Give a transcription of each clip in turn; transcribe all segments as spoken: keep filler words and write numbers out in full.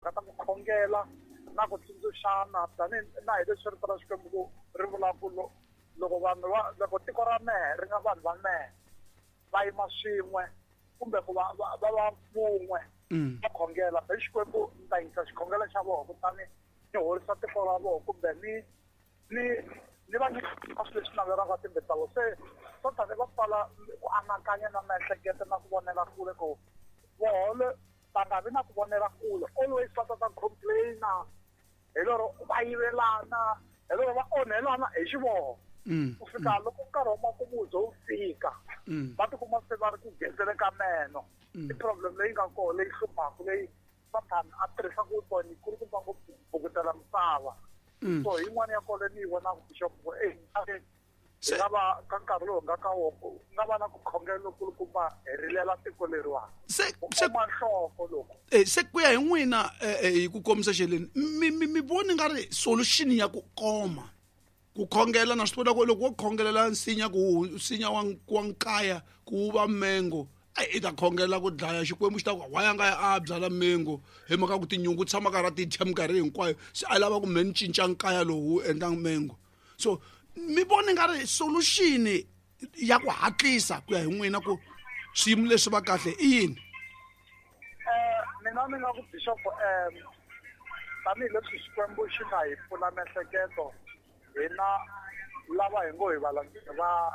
Timhaka ta ku khongela na ku tsundzuxana tanihi na hi leswi rito ra Xikwembu ku ri vula ku loko vanhu va loko tiko ra mehe ri nga vanhu va mehe va yima swin'we kumbe ku va va va va vun'we va khongela hi Xikwembu ni ta yisa xikhongelo xa vona kutani ni horisa tiko ra vona kumbe ni ni ni va nyika swilo leswi navelaka timbilu ta vona. Se Sathane va pfala ku anakanya na miehleketo na ku vonela kule ku voho va nga vi na ku vonela kule, always va ta ta complain-a hi lero va yivelana, hi lero va onhelana hi xivoho. Ku fika loko nkarhi wa makumu wu ze wu fika va tikuma se va ri ku gezele ka meno. I problem leyi nga kona leyi hluphaka leyi Sathane a tirhisaka weapon yi kulukumba ngopfu ku bukutela misava. So yin'wana ya kona ni yi vonaka bishop ku e hi nga va ka nkarhi lowu nga ka wona ku nga va na ku khongela lokulukumba hi rilela tiko leriwani se ku se oma nhloko loko eh, se ku ya hi n'wina eh, eh, hi ku komisa xeleni mi mi mi voni nga ri solution ya ku koma ku khongela na swi tiva ku loko wo khongelela nsinya ku nsinya wa wa nkaya ku wu va mengo ai i ta khongela ku dlaya Xikwembu xi ta ku why a nga ya a byala mengo hi mhaka ku tinyungu tshama karhi a ti dya minkarhi hinkwayo se a lava ku me ni cinca nkaya lowu wu endla mengo. So mi voni nga ri solution ya ku hatlisa ku ya hi n'wina ku swiyimo leswi va kahle i yini? Eh mina ni nga ku bishop um tanihileswi Xikwembu xi nga hi pfula miehleketo hina lava hi ngo hi valandzeri va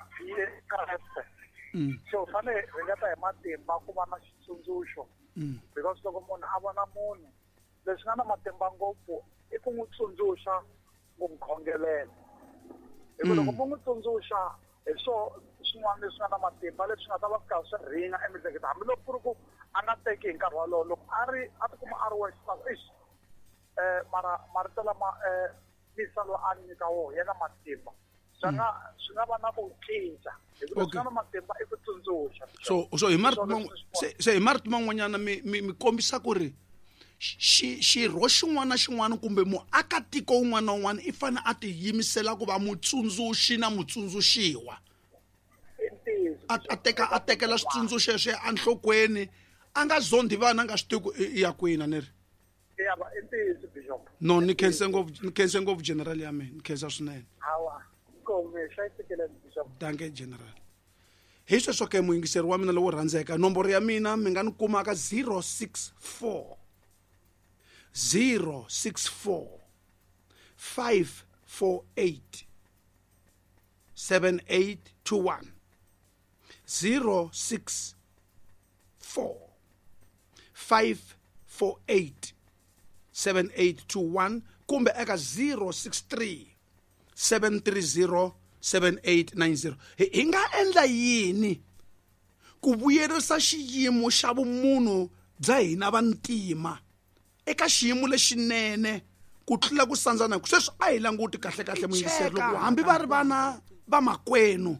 Kreste, so fanele hi ringeta hi matimba ku va na xitsundzuxo because loko munhu a vona munhu leswi nga na matimba ngopfu i ku n'wi tsundzuxa ku n'wi khongelela. Hi ku loko mo n'wi tsundzuxa hi swo swin'wana leswi nga na matimba leswi nga ta va swi karhi swi ringa emiehleketweni hambiloko ku ri ku a nga teki hi nkarhi wolowo loko a ri a tikuma a ri wexe ta ku eish um mara marito lama um misa loyi a nyika wona ya na matimba swi nga swi nga va na ku cinca hi ku leswi nga na matimba i ku tsundzuxa. So so hi marito se se hi marito man'wanyana mi mi mi kombisa ku ri xi xirho xin'wana na xin'wana kumbe muakatiko wun'wana na wun'wana i fanele a tiyimisela ku va mutsundzuxi na mutsundzuxiwa. A a teka a tekela switsundzuxo sweswo enhlokweni a nga zondi vana a nga swi tivi ku i ya kwini a ni ri. Ya va i ntiyiso bishop. No ni khense ngopfu ni khense ngopfu general ya mina ni khensa swinene. Hawa inkomu hlayisekile bishop. Danke general. Hi sweswo ke muyingiseri wa mina lowo rhandzeka nomboro ya mina mi nga ni kuma ka zero six four zero six four five four eight seven eight two one zero six four five four eight seven eight two one kumbe eka zero six three seven three zero seven eight nine zero. Hi nga endla yini ku vuyerisa xiyimo xa vumunhu bya hina vantima eka xiyimo lexinene ku tlula ku sandzana? Ku sweswi a hi languti kahle kahle muyingiseri loko hambi va ri vana va makwenu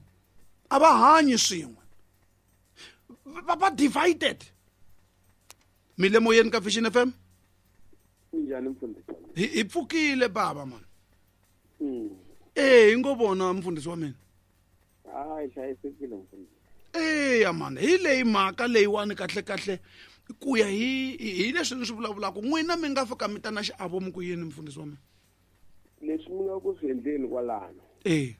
a va hanyi swin'we va va divided. Mi le moyeni ka Vision F M? Minjhani mfundhisi? Hi hi pfukile baba man. Eh hi ngo vona mfundhisi wa mina. Hayi hlayisekile mfundhisi. Eya man hi leyi mhaka leyiwani kahle kahle ku ya hi hi leswi ni swi vulavulaka n'wina mi nga fika mi ta na xiavo mi ku yini mfundhisi wa mina? Leswi mi nga ku swi endleni kwalano. Eh.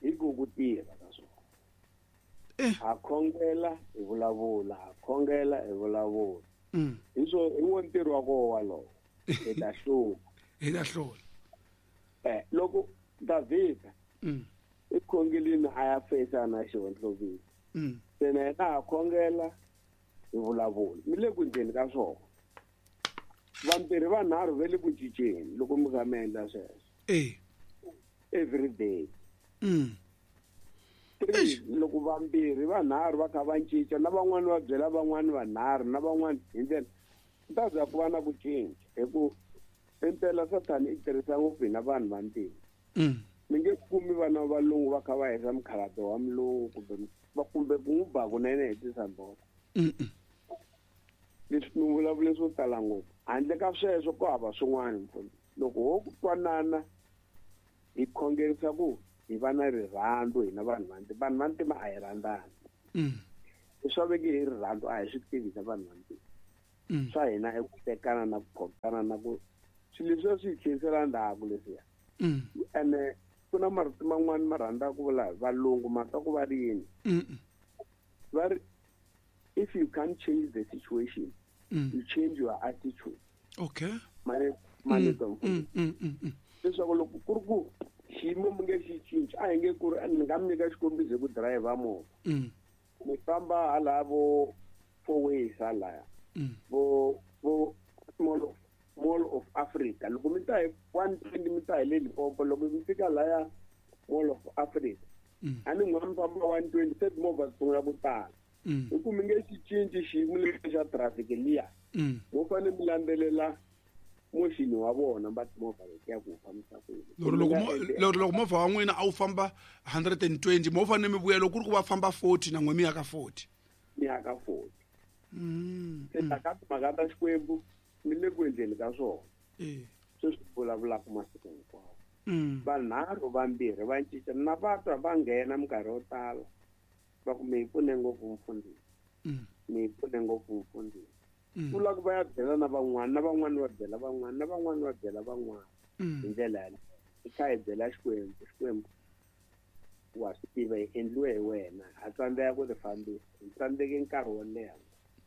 Hi ku ku tirha ka swona. Eh. Ha khongela hi vulavula, ha khongela hi vulavula. Mm. Hi swo hi wo ntirho wa koho walowo. Hi ta hlula. Hi ta hlula. Eh loko Davhida Mm. i khongelini a ya fesa na xihondlovini. Mm. Se na yena ha khongela hi vulavula. Mi le ku endleni ka swona. Vambirhi vanharhu va le ku cinceni loko mi kha mi endla sweswo. Eh. Every day. Mm. Three, loko vambirhi vanharhu va kha va cinca na van'wani va byela van'wani vanharhu na van'wani hi ndlela ku ta za ku va na ku cinca hi ku impela Sathane i tirhisa ngopfu hina vanhu vantima. Mm. Mi nge kumi vana va valungu va kha va hisa mukhalabye wa mulungu kumbe va kumbe ku n'wi ba kunene hi tisamboko. Mm. Leswi mi vulavule swo tala ngopfu handle ka sweswo ku hava swin'wana mfundhisi. Loko ho ku twanana hi khongerisa ku hi va na rirhandzu hina vanhu vantima. Vanhu vantima a hi rhandzani. Mm. Leswi va veke hi rirhandzu a hi swi tivi hina vanhu vantima. Swa hina i ku tekana na ku phokana na ku swilo leswiya swi hi tlherisela ndzhaku leswiya. Ene ku na marito man'wani ma rhandza ku vula valungu ma twa ku va ri yini. Va ri if you can't change the situation, mm. you change your attitude. Okay. Mane mane mm, mm, mm, leswaku loko ku ri ku xiyimo mi nge xi cinci a hi nge ku ri ni nga mi nyika xikombiso hi ku dirayivha movha. Mi famba hala vo four ways halaya. Vo vo Mall of Mall of Africa. Loko mi ta hi one twenty mi ta hi le Limpopo loko mi fika laya Mall of Africa. A ni n'wa mi famba one twenty se timovha ti sungula ku tala. Hi ku mi nge xi cinci xiyimo lexi xa traffic liya. Mo fanele mi landzelela moxini wa vona va timovha letiya ku fambisa ku yini. Loko loko movha wa n'wina a wu famba hundred and twenty mo fanele mi vuya loko ku ri ku va famba forty na n'we mi ya ka forty. Mi ya ka forty. Se ta ka timhaka ta Xikwembu mi le ku endleni ka swona. Sweswi vulavulaka masiku hinkwawo. Vanharhu vambirhi va cinca na va twa va nghena minkarhi yo tala va ku mi hi pfune ngopfu mfundhisi. Mi hi pfune ngopfu mfundhisi. Ku lava ku va ya byela na van'wana na van'wana va byela van'wana na van'wana va byela van'wana hi ndlela yaleyo. Hi kha hi byela Xikwembu, Xikwembu wa swi tiva hi endliwe hi wena ha tsandzeka ku ti fambisa hi tsandzeke nkarhi wo leha.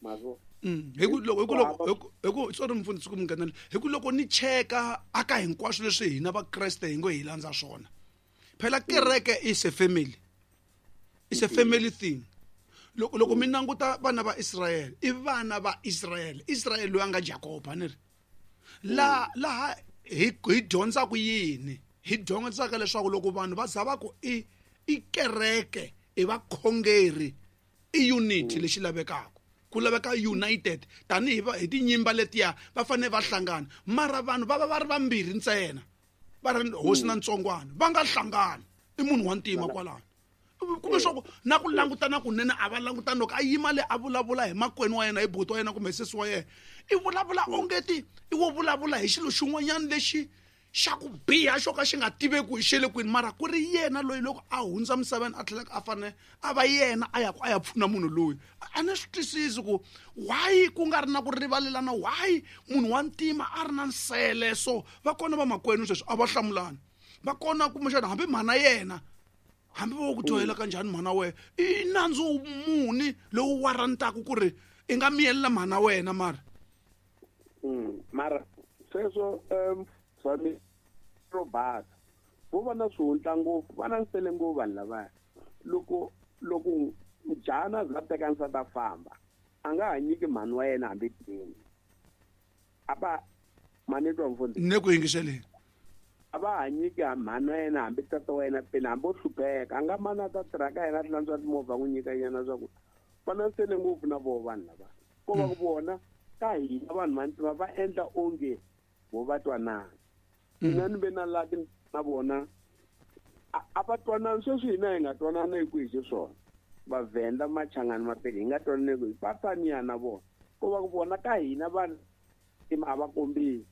Hi ku loko hi ku loko hi ku sorry mfundhisi ku mi nghenela hi ku loko ni cheka aka hinkwaswo leswi hina vakreste hi ngo hi landza swona phela kereke is a family, is a family thing. Loko loko mi languta vana va Israel i vana va Israel, Israel loyi a nga Jakob a ni ri la laha hi hi dyondzaka yini hi dyondzaka leswaku loko vanhu va za va ku i i kereke i vakhongeri i unity lexi lavekaka ku laveka united tanihi hi tinyimba letiya va fanele va hlangana mara vanhu va va va ri vambirhi ntsena va ri hosi na ntsongwana va nga hlangani i munhu wa ntima kwalano kumbe swa ku na ku langutana kunene a va langutani loko a yima le a vulavula hi makwenu wa yena hi buti wa yena kumbe sesi wa yena i vulavula ongeti i wo vulavula hi xilo xin'wanyana lexi xa ku biha xo ka xi nga tiveki hi xele kwini mara ku ri yena loyi loko a hundza misaveni a tlhelaka a fanele a va yena a ya ku a ya pfuna munhu loyi a ni swi twisisi ku why ku nga ri na ku rivalelana why munhu wa ntima a ri na nsele so va kona vamakwenu sweswi a va hlamulani va kona kumbexana hambi mhana yena hambi vo ku dyohela kanjhani mhana wena i nandzu muni lowu warantaka ku ri i nga miyelela mhana wena mara mara sweswo um swa ro basa vo va na swihundla ngopfu va na nsele ngopfu vanhu lavaya loko loko njhana za teka nsati a famba a nga ha nyiki mhani wa yena hambi peni a va mani twa mfundhisi ne ku yingiseleni a va ha nyiki mhani wa yena hambi tata wa yena peni hambi o hlupheka a nga mani a ta tirha ka yena a hlantswa timovha n'wi nyika nyana swa ku va na nsele ngopfu na voho vanhu lava ko va ku vona ka hina vanhu va ntima va endla onge vo va twanana mina ni ve na laki na vona a va twanani sweswi hina hi nga twanana hi ku hi xiswona Vavhenda Machangani Mapedi hi nga twanani hi ku hi va faniya na vona ko va ku vona ka hina vanhu a va kombisi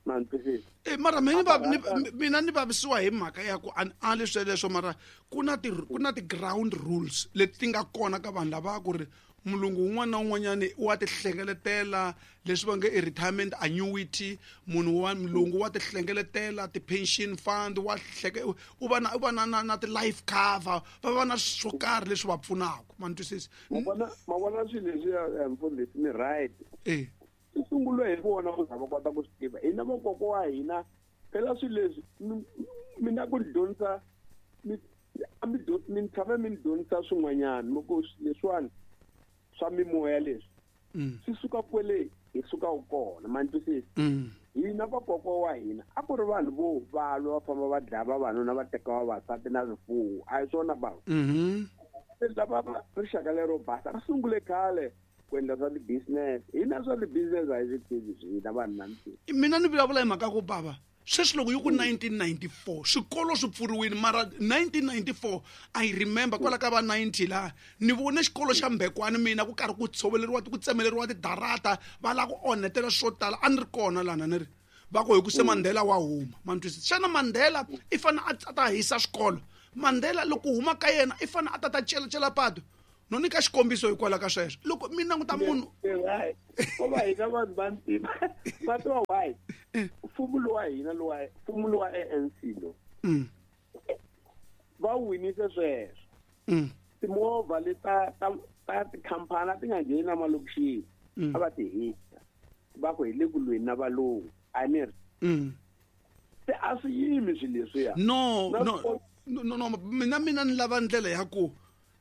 ma ni twisisa. E mara mina ni mina ni vavisiwa hi mhaka ya ku a ali sweleswo mara ku na ti ku na ti-ground rules leti ti nga kona ka vanhu lava ku ri mulungu wun'wana na wun'wanyani wa ti hlengeletela leswi va nge i retirement annuity munhu wa mulungu wa ti hlengeletela ti-pension fund wa hleke u va na u va na na na ti-life cover va va na swo karhi leswi va pfunaka ma ni twisisa. Ma vona ma vona swilo leswiya mfundhisi ni right e swi sungule hi vona ku za va kota ku swi tiva hina vakokwa wa hina phela swilo leswi mina ku dyondzisa mi a mi mi tshame mi ni dyondzisa swin'wanyana loko leswiwani swa mimoya leswi swi suka kwele hi sukaka kona ma ni twisisa. Hina vakokwa wa hina a ku ri vanhu vo valwa va famba va dlaya vavanuna va teka vavasati na swifuwo a hi swona bava lava va rixaka lero basa ri sungule khale ku endla swa ti-business hina swa ti-business a hi swi tivi hina vanhu va ntima. Mina ni vulavula hi mhaka ku bava sweswi loko yi ku nineteen ninety-four swikolo swi pfuriwile mara nineteen ninety-four I remember kwala ka va ninety laha ni vone xikolo xa Mbekwani mina ku karhi ku tshoveleriwa ku tsemeleriwa tidarata va lava ku onhetela swo tala a ni ri kona lana ni ri va ku hi ku se Mandela wa huma ma ni twisisa xana Mandela i fanele a ta hisa swikolo Mandela loko huma ka yena i fanele a ta ta celacela patu No nyika xikombiso hikwalaho ka sweswo. Loko mi languta munhu ko va hina vanhu va ntima va tiva why mfumo lowa hina lowa mfumo lowa A N C lo va winise sweswo timovha leta ta ta tikhampani a ti nga ngheni na malokixini a va ti hisa va ku hi le ku lweni na valungu a ni ri se a swi yimi swilo leswiya. No no no no mina mina ni lava ndlela ya ku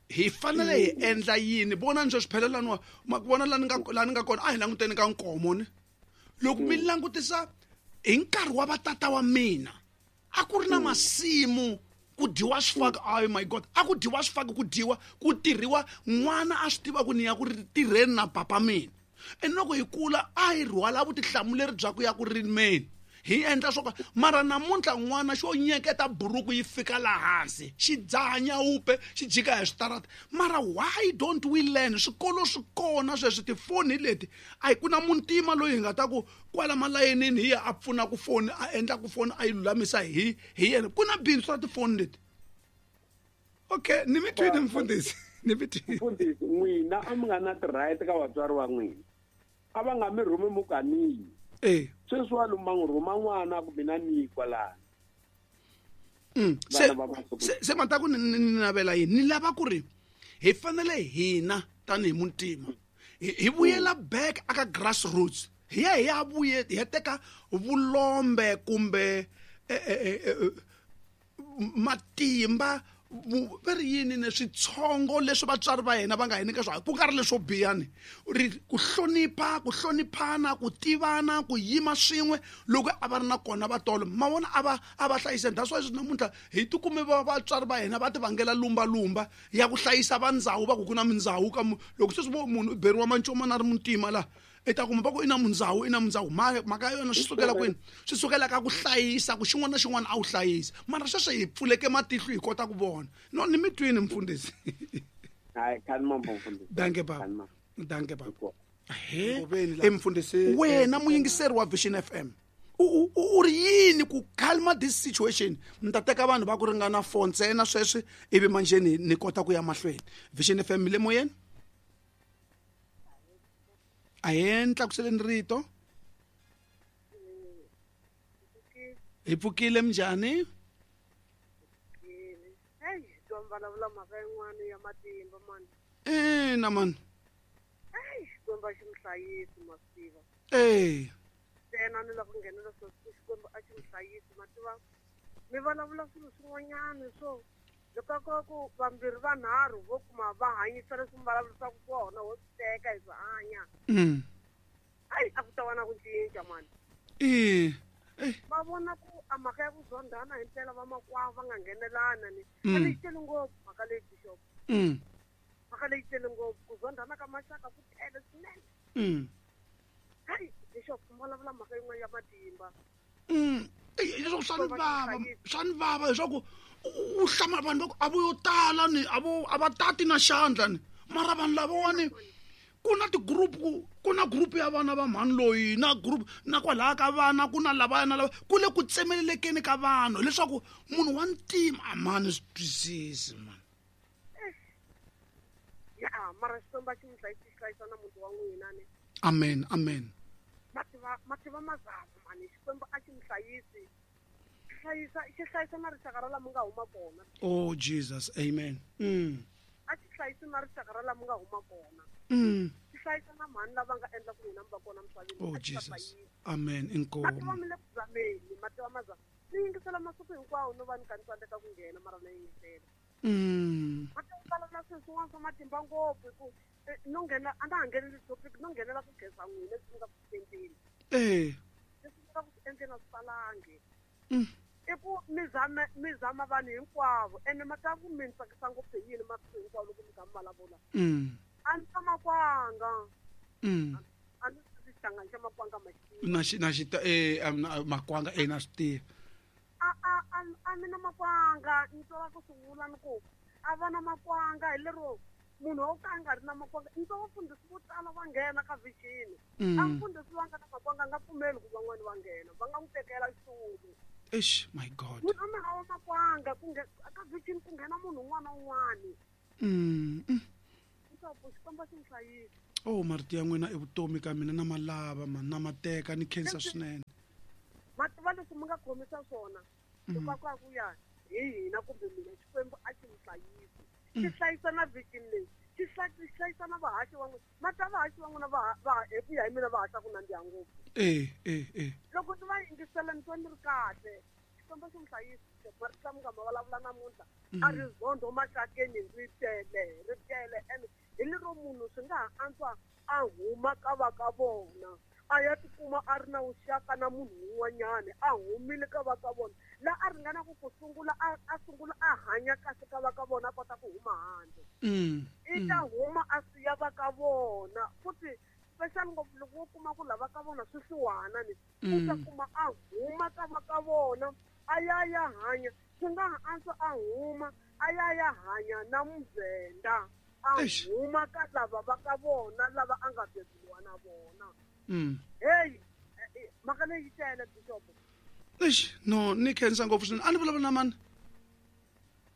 hi fanele hi endla yini. Vona ni sweswi phela laniwa ma ku vona lani nga lani nga kona a hi languteni ka nkomo ni loko mi langutisa hi nkarhi wa vatata wa mina a ku ri na masimu ku dyiwa swifaki. Oh my god, a ku dyiwa swifaki, ku dyiwa ku tirhiwa n'wana a swi tiva ku ni ya ku ri tirheni na papa mina. And loko hi kula a hi rhwala vutihlamuleri bya ku ya ku rimeni hi endla swo ka mara namuntlha n'wana xo nyeketa buruku yi fika laha hansi xi dzaha nyawupe xi jika hi switarata. Mara why don't we learn? Swikolo swi kona sweswi, tifoni leti a hi ku na muntima loyi hi nga ta ku kwala malayinini hi ya a pfuna ku foni a endla ku foni a yi lulamisa hi hi yena. Ku na bindzu ra tifoni leti. Okay, ni mi twini mfundhisi, ni mi twini mfundhisi. N'wina a mi nga na ti-right ka vatswari va n'wina, a va nga mi rhumi mukanini. Eh sweswi wa luma n'wi rhuma n'wana ku mina ni kwalano. Se se mata ku ni navela yini? Ni lava ku ri hi fanele hina tanihi muntima hi vuyela back aka grassroots, hi ya hi ya vuye hi ya teka vulombe kumbe matimba va ri yini ni switshongo leswi vatswari va hina va nga hi nyika swona, ku nga ri leswo biha ni ri ku hlonipha, ku hloniphana, ku tivana, ku yima swin'we loko a va ri na kona vatolo ma vona a va a va hlayiseni. That's why sweswi namuntlha hi tikume va vatswari va hina va ti vangela lumbalumba ya ku hlayisa va ndhawu va ku ku na mindhawu ka loko sweswi vo munhu u beriwa mancomana a ri muntima laha i ta kuma va ku i na mundhawu i na mundhawu mhaka ya yona swi sukela kwini? Swi sukela ka ku hlayisa ku xin'wana na xin'wana a wu hlayisa. Mara sweswi hi pfuleke matihlo hi kota ku vona. No ni mi twini mfundhisi. Hayi khani mambo mfundhisi. Danke baba, danke baba. He mfundhisi wena muyingiseri wa Vision F M u u ri yini ku calma this situation? Ni ta teka vanhu va ku ringana four ntsena sweswi ivi manjheni ni kota ku ya mahlweni. Vision F M le moyeni. A hi ntlakuseleni rito. Hi pfukile minjhani? Hey, twa vulavula mhaka yin'wana ya matimba mani. Ina mani. Hey, Xikwembu a xi mi hlayisi ma swi tiva. Eh. Ntsena ni lava ku nghenela swo Xikwembu a xi mi hlayisi ma tiva. Mi vulavula swilo swin'wanyana swo loko ko ku vambirhi vanharhu vo kuma va hanyisa leswi mi vulavurisaka swona ho swi teka hi swi hanya. Hayi a ku ta va na ku cinca mani. Eh. Va vona ku a mhaka ya ku zondhana hi ndlela vamakwavo va nga nghenelana ni a leyi tele ngopfu mhaka leyi bishop. Mhaka leyi tele ngopfu ku zondhana ka maxaka ku tele swinene. Hayi bishop mi vulavula mhaka yin'wana ya matimba. Leswaku swa ni vava, swa ni vava leswaku u hlamala vanhu va ku a vo yo tala ni a vo a va tati na xandla ni mara vanhu lavawani ku na ti-group ku na group ya vana va mhani loyi na group na kwalaya ka vana ku na lavaya na lava ku le ku tsemelelekeni ka vanhu leswaku munhu wa ntima a mani swi twisisi mani. Ya mara Xikwembu a xi mi hlayisi xi hlayisa na muti wa n'wina ni. Amen, amen. Mativa mativa mazama mani Xikwembu a xi mi hlayisi hlayisa xi hlayisa na rixaka ra laha mi nga huma kona. Oh Jesus, amen. Mm. A xi hlayisi na rixaka ra laha mi nga huma kona. Mm. Xi hlayisa na mhani lava nga endla ku n'wina mi va kona misaveni. Oh Jesus. Amen. Inkomu. Mativa mi le ku zameni, mativa mazama. Ni yingisela masiku hinkwawo no va ni ka ni tsandzeka ku nghena mara na yingisela. Mm. Mativa vulavula swilo swin'wana swa matimba ngopfu hi ku no nghena a na ha ngheneli topic no nghenela ku khensa n'wina leswi mi nga ku swi endleni. Eh. Leswi mi nga ku swi endleni a swi talangi. Mm. I ku mi zama mi zama vanhu hinkwavo ene ma ta ku mi ni tsakisa ngopfu hi yini masiku hinkwawo loko mi kha mi vulavula. Mm. A ni ta makwanga. Mm. A ni swi xihlangani xa makwanga ma xi. Na xi na xi eh makwanga eh na swi tiva. A a a mi na makwanga ni twa ku swi vula ni ku a va na makwanga hi lero munhu wo ka a nga ri na makwanga ni twa vafundhisi vo tala va nghena ka vision. A mfundhisi va nga na makwanga a nga pfumeli ku van'wani va nghena va nga n'wi tekela xitulu. Eish, my God. Munhu a mi hava makwanga ku ka vision ku nghena munhu un'wana na un'wana. Mm. Bishop Xikwembu xi mi hlayisa. Oh marito ya n'wina i vutomi ka mina na malava man na mateka ni khensa swinene. Mativa leswi mi nga khomisa swona hikwalaho ku ya hi hina kumbe mina Xikwembu a xi mi hlayisi. Xi hlayisa na vision leyi. Xi hlayisa na vahaxi va n'wina. Mata vahaxi va n'wina va va hi ku ya hi mina va haxa ku nandziha ngopfu. Eh eh eh. Loko ndzi va yingisela ni twa ni ri kahle. Xikwembu xi mi hlayisa. Marito lama nga ma vulavula namuntlha a ri zondo maxakeni ri tele ri tele ene hi lero munhu swi nga ha antswa a huma ka va ka vona a ya tikuma a ri na vuxaka na munhu un'wanyana a humile ka va ka vona la a ringanaka ku sungula a a sungula a hanya kahle ka va ka vona a kota ku huma handle. I ta huma a siya va ka vona futhi special ngopfu loko wo kuma ku lava ka vona swi hluwana ni u ta kuma a huma ka va ka vona a ya ya hanya swi nga ha antswa a huma a ya ya hanya na muvhenda a huma ka lava va ka vona lava a nga beburiwa na vona. Hey mhaka leyi tele Bishop. Eish no ni khensa ngopfu swinene. A ni vulavula na mani?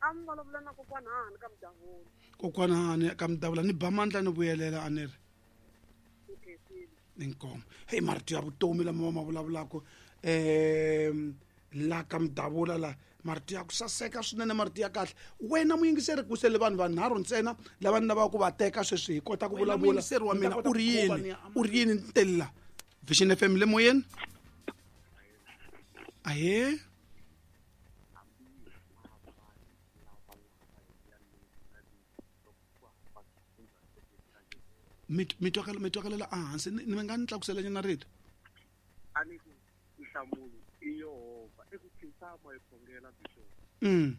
A ni vulavula na kokwana Hani ka Mudavula. Kokwana Hani ka Mudavula ni ba mandla ni vuyelela a ni ri. Inkomo. Hey marito ya vutomi lama va ma vulavulaka um la ka Mudavula la marito ya ku saseka swinene marito ya kahle. Wena muyingiseri ku sele vanhu vanharhu ntsena lava ni lavaka ku va teka sweswi hi kota ku vulavula. Muyingiseri wa mina u ri yini? U ri yini ntelela? Vision F M le moyeni? Ahe? Mi twakala mi twakalela ehansi ni nga ni tlakusela nyana rito. A ni ku nhlamulo i Yehovha i ku khinsama hi khongela Bishop. Mm.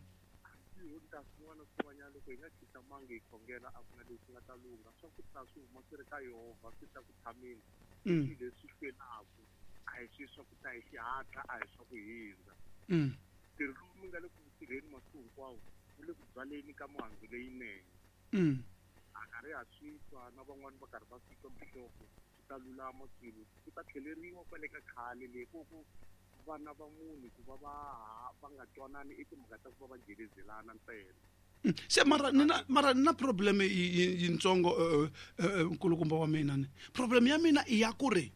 Hi ta swin'wana swin'wanyana loko hi nga khinsama hi khongela a ku na leswi nga ta lungha swa ku ta swi huma swi ri ka Yehovha swi ta ku tshameni. Mm. Leswi hlwelaku a hi swi swa ku ta hi xihatla a hi swa ku hindza. Mm. Ntirho lowu mi nga le ku tirheni masiku hinkwawo wu le ku byaleni ka mihandzu leyinene. Mm. A karhi ha swi twa na van'wani va karhi va swi twa Bishop swi ta lulama swilo ku ta tlheleriwa kwale ka khale le ku ku vana va munhu ku va va va nga twanani i timhaka ta ku va va jelezelana ntsena. Se mara ni na mara ni na problem yintsongo nkulukumba wa mina ni problem ya mina i ya ku ri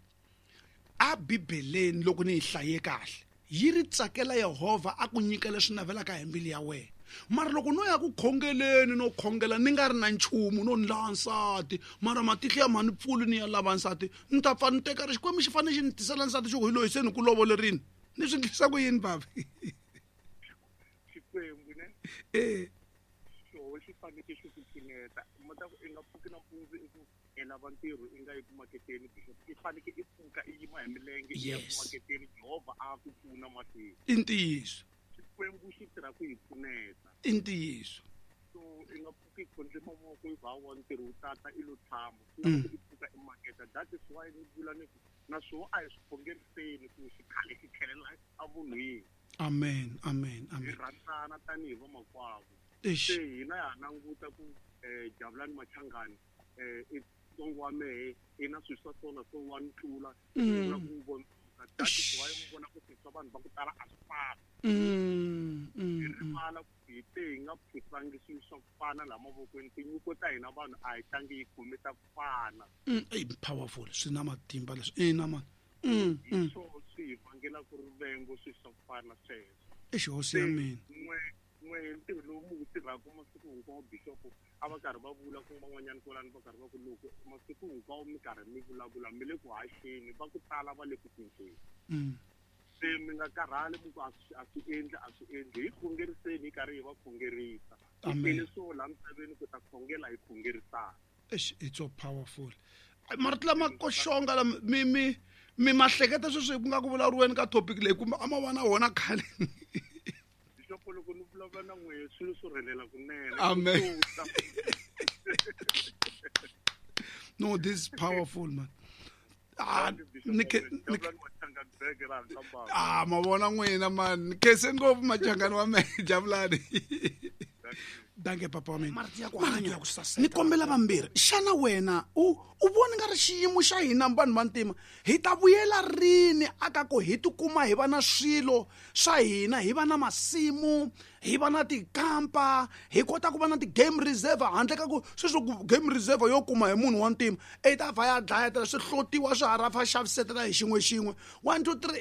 a Bibeleni loko ni yi hlaye kahle yi ri tsakela Yehovha a ku nyika leswi navelaka hi mbilu ya wena. Mara loko no ya ku khongeleni no khongela ni nga ri na nchumu no ni lava nsati mara matihlo ya mhani pfuli ni ya lava nsati ni ta pfa ni teka ri Xikwembu xi fanele xi ni tisela nsati xi ku hi loyi se ni ku lovolerini ni swi endlisa ku yini babi? Xikwembu ne eh xo xi fanele xi ku pfuneta mata ku i nga pfuki nampundzu i ku i lava ntirho i nga yi ku maketeni Bishop i fanele i pfuka i yima hi milenge i ya ku maketeni Jehovha a ku pfuna mahlweni. I ntiyiso. Xikwembu xi tirha ku hi pfuneta. I ntiyiso. So i nga pfuki i khondle mavoko i va wa ntirho wu tata i lo tshama swi i pfuka i maketa. That is why ni vula ni ku naswona a hi swi khongeriseni ku xikhale xi tlhelela evunhwini. Amen amen amen. Hi rhandzana tanihi vamakwavo. Se hina ha languta ku Javulani Machangani i ntsongo wa mehe i na swilo swa swona swo wa ni tlula vula ku vona. That is why mi vona ku swilo swa vanhu va ku tala a swi fani. Hi rivala ku hi te hi nga phusangi swilo swa ku fana laha mavokweni tinyiko ta hina vanhu a hi tlangi yi khome ta ku fana. I powerful swi na matimba leswi ina mani. Hi swona swi hi vangelaka rivengo swilo swa ku fana sweswo. Eish hosi ya mina. N'we n'we ntirho lowu mi wu tirhaka masiku hinkwawo Bishop a va karhi va vula ku van'wanyana kwalano va karhi va ku loko masiku hinkwawo mi karhi mi vulavula mi le ku haxeni va ku tala va le ku cinceni. Se mi nga karhali mi ku a swi a swi endli a swi endli hi khongeriseni hi karhi hi va khongerisa. Hi tele swo laha misaveni ku ta khongela hi khongerisana. Eish it's so powerful. Marito lama koxonga lama mi mi mi mahleketa sweswi ku nga ku vulavuriweni ka topic leyi kumbe a ma va na wona khale. Bishop loko ni vulavula na n'wehe swilo swo rhelela kunene. Amen. No, this is powerful man. Ah, ni ah ma vona n'wina man ni khense ngopfu Machangani wa mehe Javulani. Danke papa wa mina. Marito ya ku Marito hanya. ya ku saseka. Ni kombela vambirhi, xana wena u u voni nga ri xiyimo xa hina vanhu va ntima hi ta vuyela rini aka ku hi tikuma hi va na swilo swa hina, hi va na masimu, hi va na tikampa, hi kota ku va na ti-game reserve, handle ka ku sweswi ku game reserve yo kuma hi munhu wa ntima i ta va ya dlayetela swi hlotiwa swi harafa xavisetela hi xin'we xin'we. One two three.